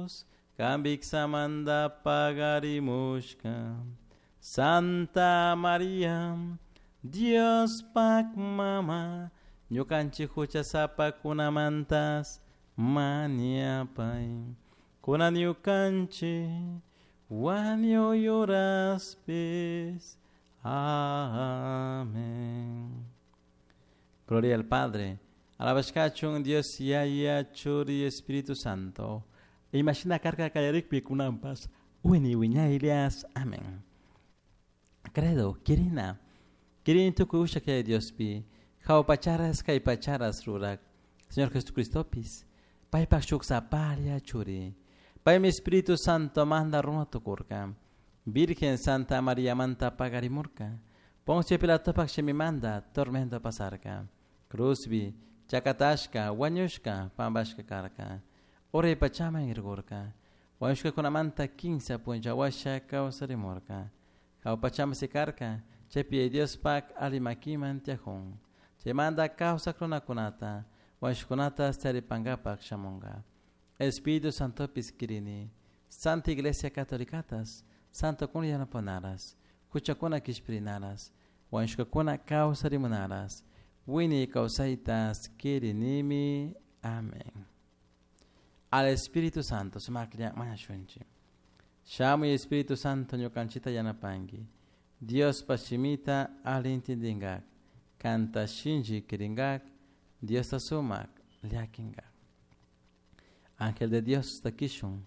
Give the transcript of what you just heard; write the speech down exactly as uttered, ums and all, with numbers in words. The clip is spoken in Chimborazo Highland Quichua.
Jesús, Kambiksamanta pagarimushka. Santa Maria, Diospak mama, ñukanchik huchasapakunamantas mañapay. Kunan ñukanchik wañuy horaspis. Amén. Gloria al Padre, alabashkachun Dios Yaya Churi Espíritu Santo. Imashina karka kallarikpi kunanpas wiñay wiñaylias. Amén. Credo, quirina. Quirini tukuy ushak Yaya Diospi. Jahua pacharas kay pacharas rurak. Señor Jesucristopis. Paypak shuk sapalla churi. Paymi Espíritu Santo manda runa tukurka. Virgen Santa María manta pagarimurka. Poncio Pilatopak shimimanda tormento pasarka. Cruzbi, chakatashka, wañushka, pambashka karka. Uray pachaman irgurka. Wañushkakunamanta kinsa punlla washa kawsarimurka. Jahua pachaman sikarka, chaypi Diospak ali makiman tiyajun. Chaymanta kawsak runakunata, wañushkakunatas taripankapak shamunka. Espíritu Santopis kirini, Santa Iglesia Catolicatas, Santokuna yanapanaras, huchakuna kishpirinaras, wañushkakuna kawsarimunaras, wiñay kawsaytas kirinimi. Amén. Al Espíritu Santo, sumaklla mañashunchik. Shamuy Espíritu Santo ñukanchikta yanapanki. Diospa shimita ali intindingak, kanta shinchi kiringak, Diosta sumak llakinkak. Ángel de Dios takishun,